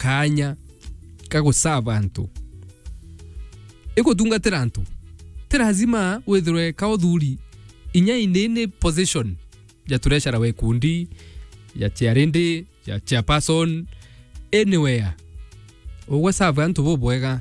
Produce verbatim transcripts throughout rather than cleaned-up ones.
kaanya ka guserve antu. Igutungatira antu. Ti lazima withirwe ka uthuri inya in any position ya treasurer wa ikundi, ya chairlady, ya chairperson, anywhere. Ugwe serve antu bubwega.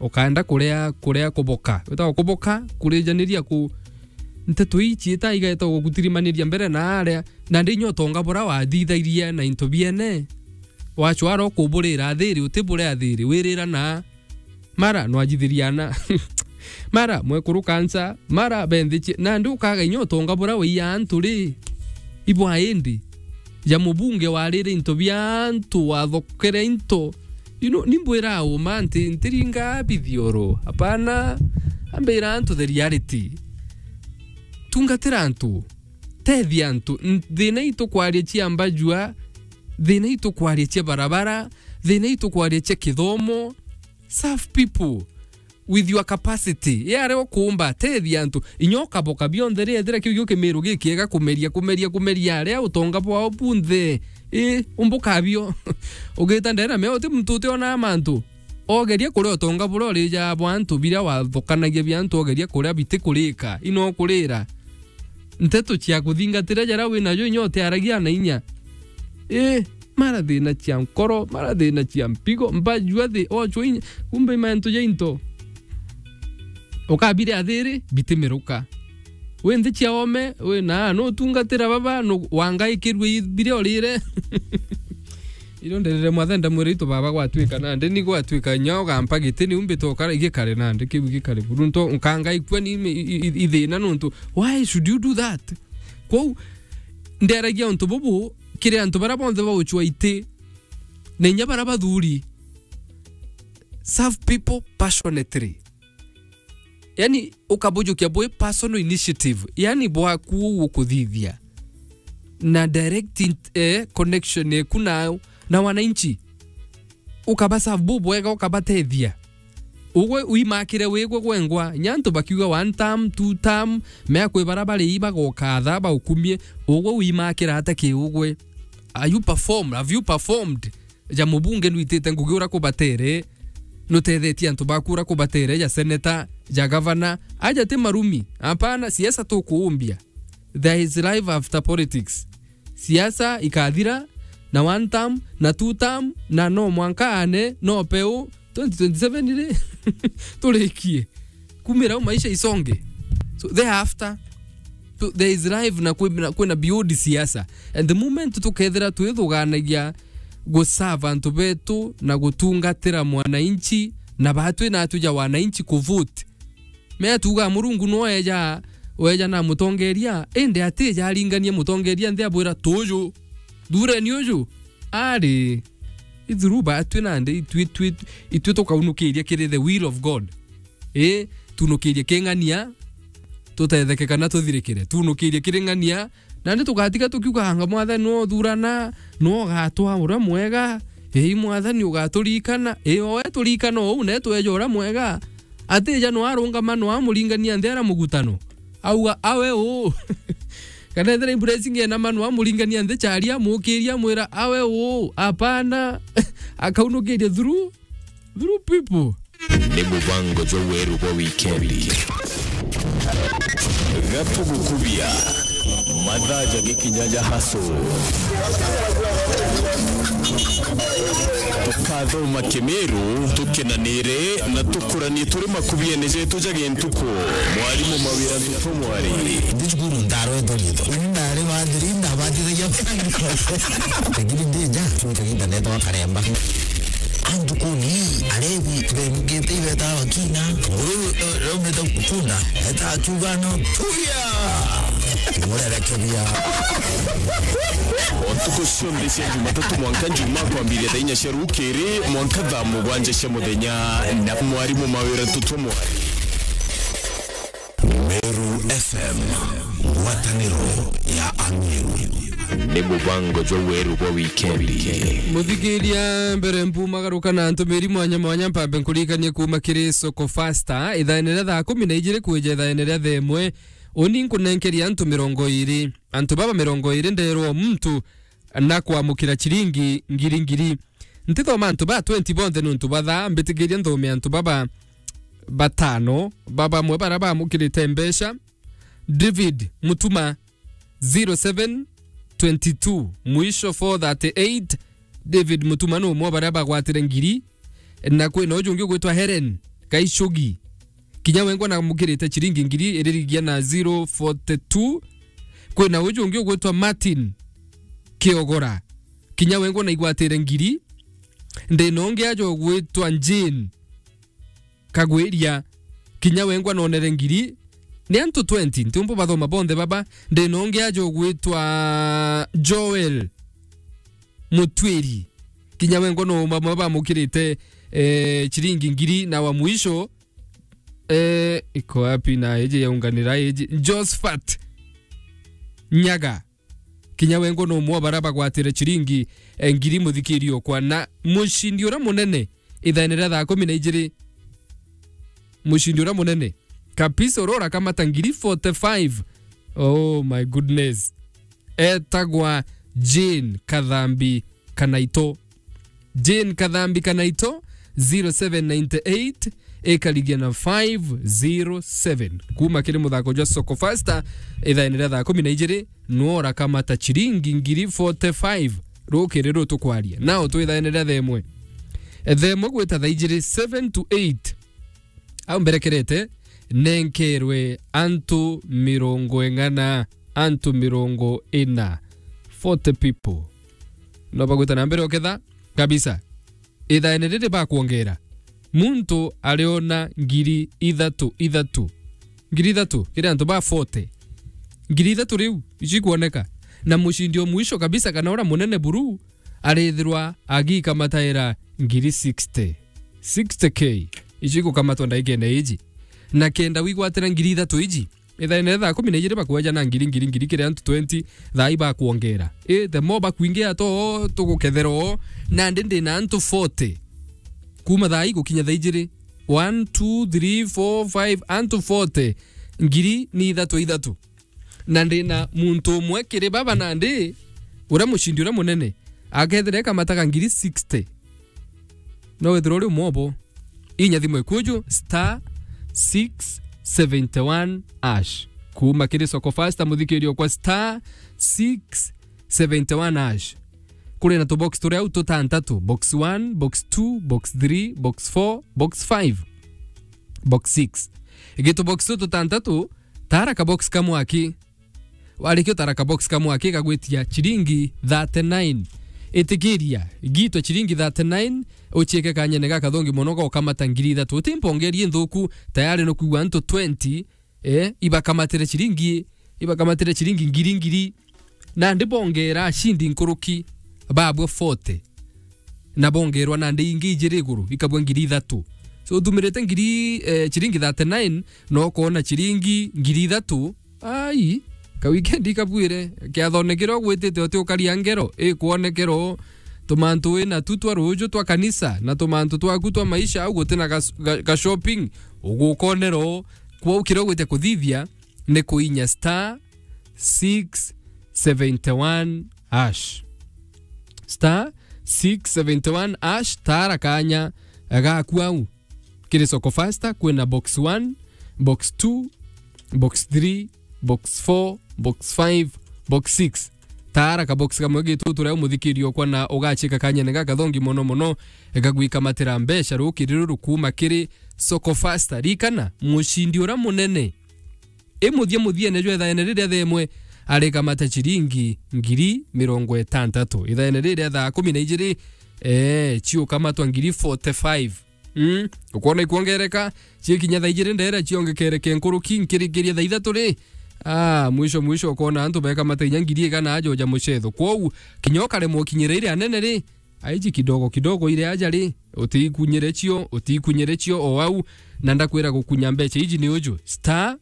Ukaenda kuria, kuria kuboka. Witagwa kuboka, kurijaniria ku nteto ii ciita igeeta gugutirimaniria mbere na aria. Nandi inya utonga buria wathithairie na into biene, wacwara ukuburira athiri, utiburia athiri, wirira na mara nwajithiria ana. Mara mwekuru kansa, mara benthi cie-, nandi ukaga inya utonga buria waiya antu ri, ibwa indi ja mubunge warire into bia antu, wathokere into. You know, nimbwira uma nti ntiringa bithioro. Hapana, ambira antu the reality. Tungatira antu. Tethia antu. N-, thina itukwaria cia mbajua, thina itukwaria cia barabara, thina itukwaria cia kithomo. Serve people with your capacity. Yare ukuumba, tethia antu. Inya ukaboka bionthe ri, ethira kiu gio kimiru gikiega kumeria, kumeria, kumeria, aria utonga bwao bunthe. Ii, umbuka bio. Ugita ndena mea uti muntu utiona mantu. Ogeria kuria utonga buria urija bwa antu biria wathokanagia bia antu, ogeria kuria bitikurika, ino kurira. Nteto cia kuthingatira jaria winajo inya utiaragia na inya. Ii, mara thina cia nkoro, mara thina cia mpigo, mbajua thi, ochwa inya. Kumbe mantu ja into. Ukabire athiri, bitimiruka. Wi nthi cia ome, wi na, nutungatira baba, nu-, wangaikirue i-, biria urire. Irio nderire mwathe ndamwira itu baba gwatuika nandi, ni gwatuika inya ugampa giti, niu mbite ukara, igikare nandi, kiu igikare buru. Nto, nkangaikua ni ime-, i-, i-, i-, ithina nuntu. Why should you do that? Kwou, nderagia untu bubu, kiri antu baria bonthe bauchwa iti, na inya baria bathuri. Serve people passionately. Yani, ukabujukia bwi personal initiative, yani bwaku uu ukuthithia, na direct in-, eh, connection eku na, na wananchi. Ukabaserve bubwega, ukabatethia. Ugwe uimakire wigwe gwengwa, nya antu bakiuga one term, two term, mea kwi bara bari ibagoka tha baukumie, ugwe uimakira ata ki ugwe? Are you perform? Have you performed? Ja mubunge nwitite ngugi ura kubatere, nutethetie antu baku ura kubatere, ja seneta, ja gavana, aja ti marumi. Apana, siasa tukuumbia. There is life after politics. Siasa ikathira, na one term, na two term, na no mwanka ane, no peu, twenty twenty-seven ri, turikie. Kumira u maisha isonge. So, thereafter, so, there is life na kwi-, na kwina beyond siasa. And the moment tukethira twithuganagia guserve antu betu na gutungatira mwananchi, na batwi na atu ja wananchi kuvote. Mea tuga Murungu no eja, weja na mutongeria, indi atija aringania mutongeria nthi abwira, "Tuju, thureni uju." Ari, ithuru batwi nandi, itwi, itwi, itwi tukaunukiria kiri the will of God. Ii, tunukirie king'ania, tutetheke kana tuthirikire. Tunukirie kiri ng'ania, nandi tugatiga tukiuga, "Anga Mwathani no uthurana, no ugatwa uria mwega." Ii, Mwathani ugaturikana. Ii, owe turikana uu, ne tweja uria mwega. Atija no arungama, no amuringania nthi ara mugutano. Auga, "Awe uu." Kana ethira i blessing enama, no amuringania nthi chari, amukiria, amwira, "Awe uu." Apana. Akaunukiria through, through people. Ni mubango jwa weru bwa wikendi. Gatugukubia. Mathaa jagikinya ja haso. Tukathoma Kimiru, tukenanire na tukuranie turi makubiene jetu ja gintuku. Mwarimu Mawira Ntutu Mwari. Ndi cukuru ndarwetwo riitwa. Uni ndari bathiri, ndabatithagia. Lakini ndija, cwita gita netwa karemba. Antukuni, arebi, bemugite ibeta bakina. Nguru, eh, raumite kunda. Eta akiuga no, tuya. Murerekeria. O ntuku cionthe cia Jumatatu mwanka Njumaa kwambiria thaa inya cia rukiri mwanka thaa mugwanja cia muthenya na mwarimu Mawira Ntutu Mwari. Meru F M, ngwataniro ya Ameru. Ni mubango jwa weru bwa wikendi. Muthikiria, mbere mpumagaruka na ntumiri mwanya mwanya, mpambe nkuririkanie kuuma kiri Soko Fasta, ithaene ria thaa kumi na ijiri kwija ithaene ria thaa imwe, uni nkunenkeria antu mirongo iiri. Antu baba mirongo iiri ndeerwa o muntu na kwamukira chiringi ngiri ngiri. Ntithoma antu ba twenty bonthe nontu ba thaa, mbitikiria nthome antu baba batano, ba bamwe bara bamukirite mbeca. David Mutuma, zero seven twenty two, mwisho four thirty eight. David Mutuma ni umwe wa baria bagwatire ngiri, na kwina uju ungi ugwitwa Helen Kaichugi. Kinya wengwa namukirite chiringi ngiri iririgia na zero forty two. Kwina uju ungi ugwitwa Martin Kiogora. Kinya wengwa naigwatire ngiri. Ndina ungi aja ugwitwa Jane Kagwiria. Kinya wengwa nonere ngiri. Ni antu twenty, ntiumbu bathoma bonthe baba. Ndina ungi aja ugwitwa Joel Mutwiri. Kinya wengwa no bamwe bamukirite, eh, chiringi ngiri, na wa mwisho, eh, iko wapi na iji yaunganira iji? Josephat Nyaga. Kinya wengwa no umwe wa baria bagwatire chiringi, eh, ngiri, muthikiri okwa. Na mucindi uria munene, ithaene ria thaa kumi na ijiri, mucindi uria munene, kabisa, uria urakamata ngiri forty five. Oh my goodness. Etagwa Jane Kathambi Kanaito. Jane Kathambi Kanaito, zero seven nine eight, ikarigia na five zero seven. Kuma kiri muthako jwa Soko Fasta, ithaene ria thaa kumi na ijiri, nwo urakamata chiringi ngiri forty five. Rukiri ru tukwaria. Nao twi ithaene ria thaa imwe. Thaa imwe gwita thaa ijiri, seven to eight. Au mberekerete, nenkerwe antu mirongo ing'ana, antu mirongo ina, forty people. No bagwita na mbere oketha kabisa. Ithaene riri bakwongera, muntu ariona ngiri ithatu, ithatu. Ngiri ithatu kiri antu ba forty. Ngiri ithatu riu icio ikwoneka. Na mucindi o mwisho kabisa, kana uria munene buru, arithirwa agikamataira ngiri sixty. Sixty K. Icio igukamatwa ndagikene iji. Na kenda wigwatira ngiri ithatu iji, ithaene ria thaa kumi na ijiri bakweja na ngiri, ngiri, ngiri kiri antu twenty, thaa ibakwongera. I, the more bakwingia to, tugukethera o, nandi ndina antu forty. Kuma thaa ii gukinya thaa ijiri, one, two, three, four, five, antu forty. Ngiri ni ithatu ithatu. Na ndina muntu umwe kiri baba nandi, uria mucindi uria munene, akethira ekamataga ngiri sixty. No wethirwa uri umwe obo. Inya thimu ikuju, star six seventy one hash. Kuma kiri Soko Fasta, muthikiri okwa, star six seventy one hash. Kuri na tubox turia au tutantatu, box one, box two, box three, box four, box five, box six. Gitu box tu tutantatu, tara ka box kamwe aki. Warikia utara ka box kamwe aki, gagwitia chiringi thirty nine. Itikiria, gitwa chiringi thirty nine, uchiike kanyene gakathongi mono ga ukamata ngiri ithatu. Uti mpongerie nthuku, tayari nukwigua antu twenty, eh, ibakamatire chiringi, ibakamatire chiringi ngiri ngiri. Nandi bongera ashindi nkuruki, babwe forty. Na bongerwa nandi ingi ijiri iguru, ikabwa ngiri ithatu. So, uthumirite ngiri, eh, chiringi thirty nine, na ukoona chiringi ngiri ithatu, ai, ka weekend ikabwire, kiathone kiria ugwitite uti ukaria ngero, ikwonekera o tumantu wina tu twa ruuju twa kanisa, na tumantu twaku twa maisha, au gutina ga, ga, ga shopping, ugukonera o. Kwou kiria ugwite kuthithia, ni kuinya star six seventy one hash. Star six seventy one hash, tara kanya gaku au. Kiri Soko Fasta, kwina box one, box two, box three, box four, box five, box six. Tara ka box kamwe gitu turia umuthikiri okwa na ugachika kanyene gakathongi mono mono, gagwikamatira mbeca rukiri ruru kuma kiri Soko Fasta. Rikana, mucindi uria munene I muthia muthiene jwa ithaene riria themwe arikamata ciringi ngiri mirongo itantatu. Ithaene riria thaa kumi na ijiri, ee, ciukamatwa ngiri forty five. Mm, ukwona ikwongereka, cikinya thaa ijiri ndera ciongekereke nkuruki nkirikiria thaa ithatu ri. Ah, mwisho mwisho ukona antu bekamata inya ngiri igana ajoja mucetho. Kwou, kinya ukaremwa ukinyira iria anene ri, aiji kidogo kidogo ire aja ri, utiikunyire cio, utiikunyire cio o au, na ndakwira gukunya mbeca iji ni uju, star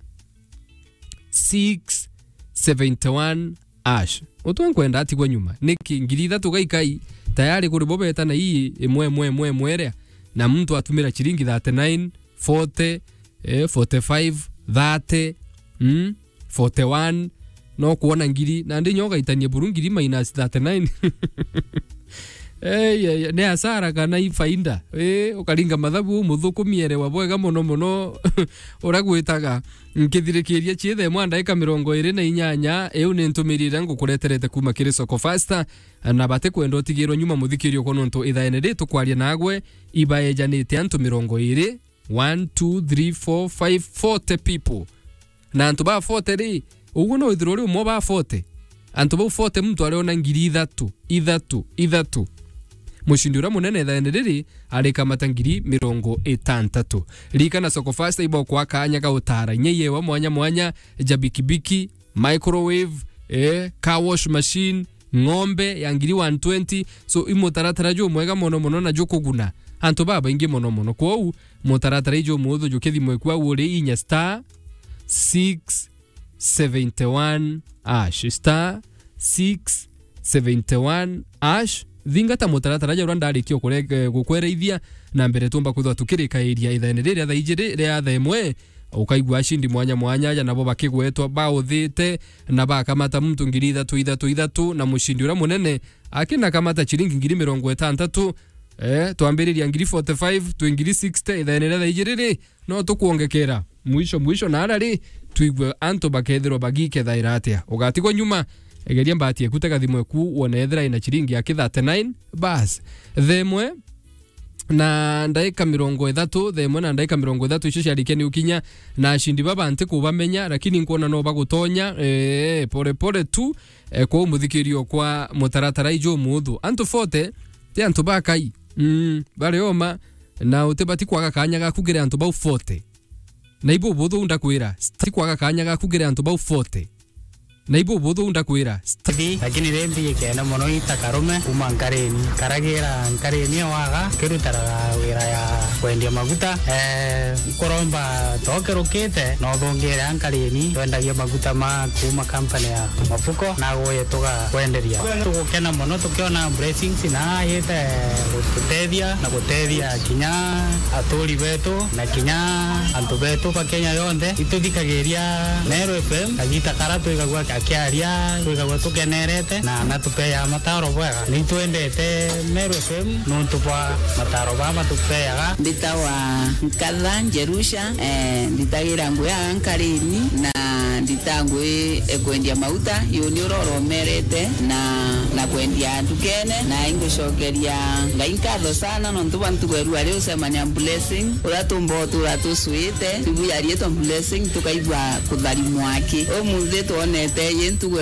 six seventy one hash. Utwe nkwenda atigwa nyuma. Niki ngiri ithatu gaikai, tayari kuri bo beta na ii imwe, imwe, imwe, imwe iria, na muntu atumira ciringi thirty nine, forty, eh, forty five, thirty, mm, forty one, no kwona ngiri, na ndi nyo ugaitania buru ngiri minus thirty nine. Ei, ei, ni hasara kana i faida? Ii, ukaringa mathabu umuthukumie, erewa bwega mono mono uria gwitaga. Nkithirikiria ciithe mwa ndaika mirongo iri na inyanya, iu ni ntumiri iria ngukureterete kuuma kiri Soko Fasta, na batikwenda utigirwe nyuma, muthikiri okwa, nontu ithaene ri tukwaria nagwe, ibaejanite antu mirongo iri, one, two, three, four, five, forty people. Na antu ba forty ri, uguo no withirwe uri umwe ba forty. Antu bau forty muntu ariona ngiri ithatu, ithatu, ithatu. Mucindi uria munene ithaene riri arikamata ngiri mirongo itantatu. Ririkana Soko Fasta ibokwa kanya ga utara inya iewa mwanya mwanya ja bikibiki, microwave, eh, car wash machine, ng'ombe ya ngiri one twenty. So, i mutaratara jumwega mono mono na jukuguna antu babaingi mono mono. Kwou, mutaratara ijumuthu jukithimwe kwa uri inya star six seventy one hash, star six seventy one hash. Thingata mutaratara ja uria ndarikia ukure-, eh, gukwereithia na mbere tumba kwithwa tukirikairia ithaene riria thaa ijiri ria thaa imwe. Ukaigua acindi mwanya mwanya aja nabo bakigwetwa bauthite na bakamata muntu ngiri ithatu, ithatu, ithatu, na mucindi uria munene akinakamata ciringi ngiri mirongo itantatu. Eh, twambiriria ngiri forty five, twi ngiri sixty, ithaene ria thaa ijiri ri, no tukwongekera. Mwisho, mwisho, na ara ri, twigue antu bakethirwa bagikethaira atia. Ugatigwa nyuma, egeria mbati eku tega thimu eku, wone ethira ina ciringi ya ki thirty nine, bas. Thaa imwe, na ndaika mirongo ithatu, thaa imwe na ndaika mirongo ithatu icio ciarikia ni ukinya, na acindi baba ntikubamenya, lakini nkwona no bagutonya, eh, pole pole tu, eh, kwou muthikiri okwa mutaratara ijumuthu. Antu forty, ti antu bakai, mm, bari oma, na utibati kwaga kanya gaku kiri antu bau forty. Na ibu buthu ndakwira, ti kwaga kanya gaku kiri antu bau forty. Na ibu buthu ndakwira, sti- Thi, lakini ri mbi ikene mono ita karume kuma Nkarini. Karagira Nkarini ewaga, kirutaraga wira ya kwendia maguta. Eh, nkuromba tokerukite, no thungire a Nkarini, twendagia maguta ma kuma kampani ya Mafuko, na guye tugakwenderia. Tugukena mono tukiona blessings na yite gututethia na gutethia kinya aturi betu na kinya antu betu ba Kenya yonthe. Ituthikagiria Meru F M, kagita kara twigagua akiaria, twigagua tukenerete, na natupeaga mataro bwega. Nitwendete Meru F M nontu bwa mataro baa matupeaga. Mbitawa Nkatha Njerusha, eh, nditagira ngui aa Nkarini, na ndita ngui e kwendia mauta, yuni uria uromerete na, na kwendia ndukene, na ingucokeria Ngai nkatho sana nontu bwa ntugo ya rua riu ucemania Blessing, uria tumba utura tucuite, ibu ya riitwa Blessing, tukaigua kutharimwa aki. Umunthi twonete yi ntugo